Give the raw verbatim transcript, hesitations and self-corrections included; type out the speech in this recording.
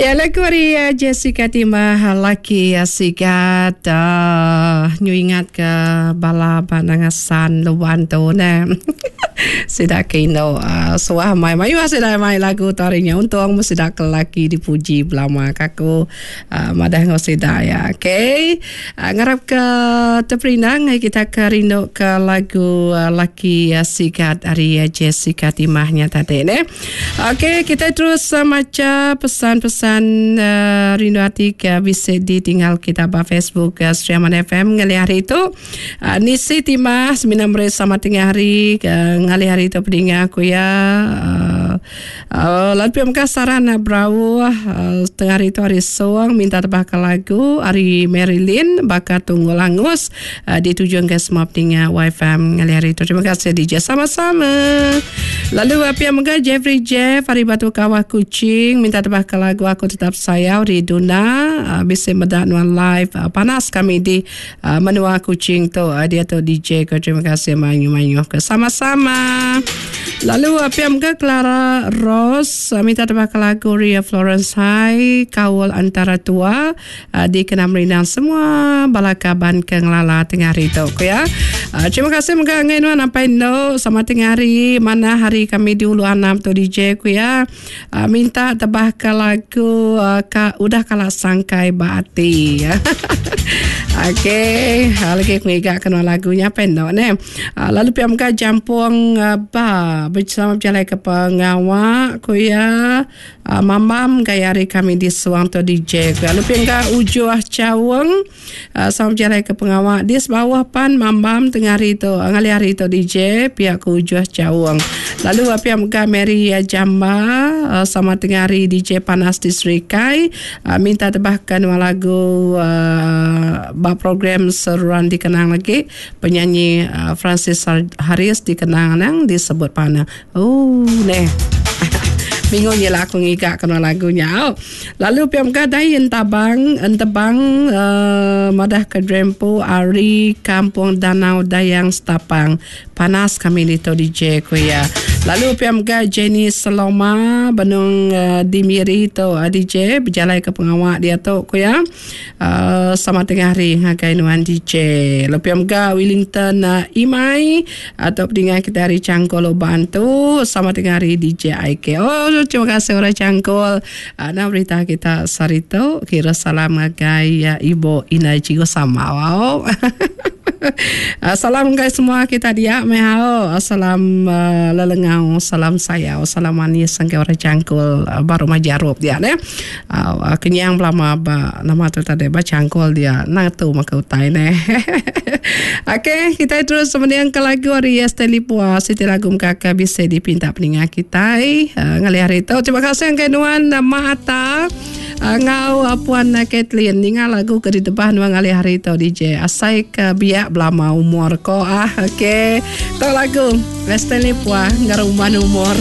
Ya lagu ari Jessica Timah laki sigat uh, nyu ingat ke bala ba Nangasan Luban tu neh. Sida ke indu uh, suah mai mayuh sida mai lagu tu ari nya untung meh sida ke laki dipuji belama ka aku uh, madah enggau sida ya. Okey. Uh, ngarap ke teperindang ngai kita ke rindu ke lagu uh, laki uh, sigat ari uh, Jessica Timah nya tadi neh. Okey, kita terus uh, macha pesan-pesan uh, rindu ati ke bisi ditinggal kita ba Facebook uh, Sri Aman F M ngalih hari tu. Uh, nisi Timah semina meri sama tengah hari uh, ngalih hari tu pedinga aku ya. Uh, uh, lalu pia mega saran berauh uh, tengah hari tu hari Suang minta tebah ke lagu ari Marilyn baka Tunggul Angus uh, dituju ke semua pedinga Y F M ngalih hari tu. Terima kasih D J sama-sama. Lalu uh, pia mega Jeffrey Jeff hari Batu Kawah Kuching minta tebah ke lagu Aku Tetap Sayau di Duna uh, bisa medak nuan live uh, panas kami di uh, menua Kuching tu uh, dia tu D J ke. Terima kasih manyu-manyu ke sama-sama. Lalu uh, pia mega Clara Rose uh, minta tebah ke lagu Ria Florence High Kaul Antara Tua uh, di kena merindang semua bala kaban ke ngelala tengah hari tu ya. Uh, terima kasih mega ngai nuan sampai no sama tengah hari mana hari kami di Ulu Anam tu D J ku ya. Uh, minta tebah ke lagu uh, ka, udah kala sangkai ba ati. Okey, lagi aku ngigak kena lagunya pendok ne. Uh, lalu pia mega jampung uh, ba bersama berjalan ke pengawak ku ya. Uh, mamam gaya hari kami di Suang tu D J ku. Lalu pia mega ujuh caweng uh, sama berjalan ke pengawak di bawah pan mamam tengah hari tu ngalih hari tu D J pia ku ujuh caweng. Lalu pia mega Mary Jamba uh, sama tengah hari D J panas di Serikai uh, minta tebahkan lagu uh, ba program seruan dikenang lagi penyanyi uh, Francis Harris dikenang nang disebut panah. Oh neh. Bingung je lah aku ngigak kena lagunya. Oh. Lalu P M K dai entabang entebang uh, madah ke Drempo Ari Kampung Danau Dayang Setapang. Panas kami di tu D J ku ya. Lalu P M K Jenny Saloma benung uh, di Miri tu uh, D J berjalan ke pengawak dia tu ku ya. Uh, sama tengah hari ngagai nuan D J. Lalu P M K Wellington uh, Imai atau pendengar kita hari Cangkul Uban tu sama tengah hari D J I K. Oh, terima kasih orang Cangkul. Uh, nah berita kita sarito kira salam ngagai uh, Ibu Ina Cigo sama. Wow. Uh, salam guys semua kita dia mehao. Salam uh, lelengau, salam sayau, salam manis sangke orang Cangkul uh, baru majarup dia ne. Uh, kenyang belama ba nama tu tadi ba Cangkul dia. Nah tu maka utai ne. Okey, kita terus kemudian ke lagu hari Stanley Pua, siti lagu kakak bisa dipinta peningat kita uh, ngalih hari tu. Terima kasih ang kenuan Mata uh, ngau uh, Puan uh, Kathleen ninga lagu ke di depan nuan ngalih hari tu D J asai ke biak belama umur ko ah. Okey, tu lagu Stanley Pua ngaruman umur.